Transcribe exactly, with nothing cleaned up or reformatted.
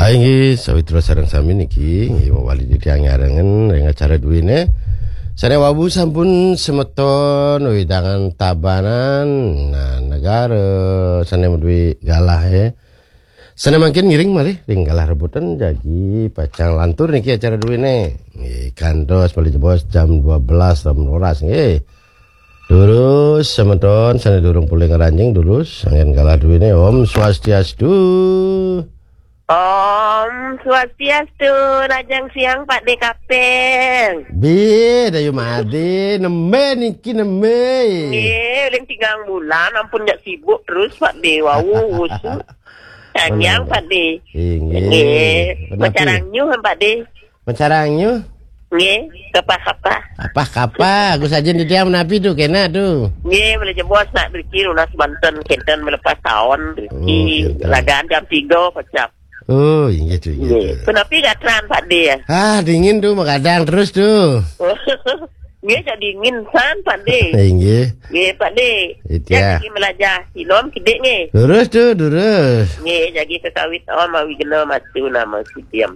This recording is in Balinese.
Inggih, sawitra sareng sami niki, inggih mawali titiang nyarengen ring acara duene. Sane wau sampun semeton wewidangan Tabanan, nah, negara sane maduwe galah, eh. Sane mangkin ngiring malih ring galah rebutan jagi pacang lantur niki acara duene. Nggih, kantos malih jebos jam dua belas, jam dua belas, nggih. Durus, semeton sane durung pulih ngranjing, durus, anggen galah duene. Om Swastiastu. Om Swastiastu, rahajeng siang Pak De Kaping. Bi, Dayu Made, nembe niki nembe. Nggih, uling tigang bulan, ampun jak sibuk terus Pak De, wau usu. Tanyang Pak De. Inggih. Nggih, menapi? Macarang nyuh Pak De. Macarang nyuh? Nggih, kapah-kapah. Kapah-kapah, Gus Ajin di tiang menapi tu, kena tu. Nggih, malih jebos nak driki nunas banten kenten melepas taun driki. Oh, kenten. Ragaan jam tiga pacap. Oh, inggih tu, inggih tu. Punapi gatran Pak De ya? Ah, dingin tu, magadang terus tu. Nggih, jak dingin san Pak De. Inggih. Nggih, Pak De. Itu ya. Jagi melajah sinom kidik nggih. Durus tu, durus. Nggih, jagi kekawit om awi gena matu nama sidiam.